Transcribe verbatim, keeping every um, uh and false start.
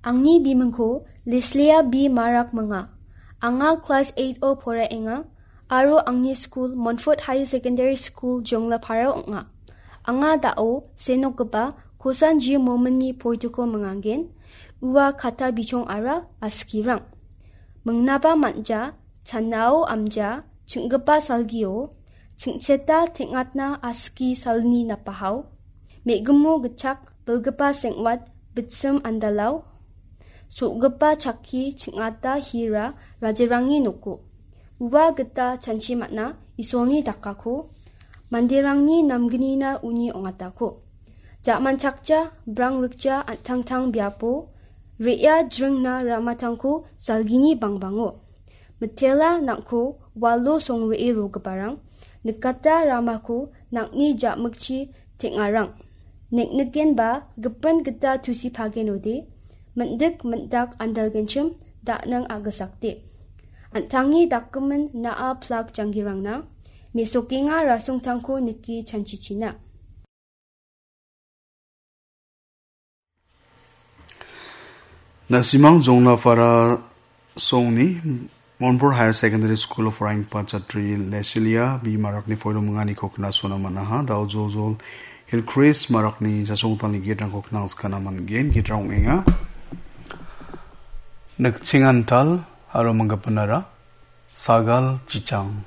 Angni bimingko Leslia B Marak minga. Anga klas eight-o poraenga aro angni skul Montfort Higher Secondary School, Jonglaparao ong·a. Anga da·o senokgipa Kosan G Mominni poitiko mingangen, ua kata bichongara askirang. Mingnaba manja, chanao amja, ching·gipa salgio, ching·cheta teng·atna aski salni napahao, me·gimo gitchak bilgipa seng·wat bitsim andalao, so·gipa chakki ching·ata hira rajarangni noko. Ua gita chanchi man·a Isolni dakako, manderangni namgnina uni ong·atako. Ja·manchakja, brang rikja an·tangtang biapo, re·a jringna ramatangko salgini bangbango. Mitela nang·ko walo songre·e rogiparang, nikata ramako nang·ni ja·mikchi teng·arang. Nek·nikenba gipin gita tusipagenode, mindik mindak andalgenchim da·nang a·gisakde. An·tangni dakgimin na·a plak janggirangna, mesokenga rasongtangko nike chanchichina. Na·simang Jonglapara songni Montfort Higher Secondary School of Rangpa chatri Leslia B Marakni poilo minganiko knasona man·aha. Da·o Jojol Hillcrest Marakni chasongtalni gate-rangko knangskana man·gen. Gate-rang ong·enga. Nikchengantal aro manggipanara sagal chichang.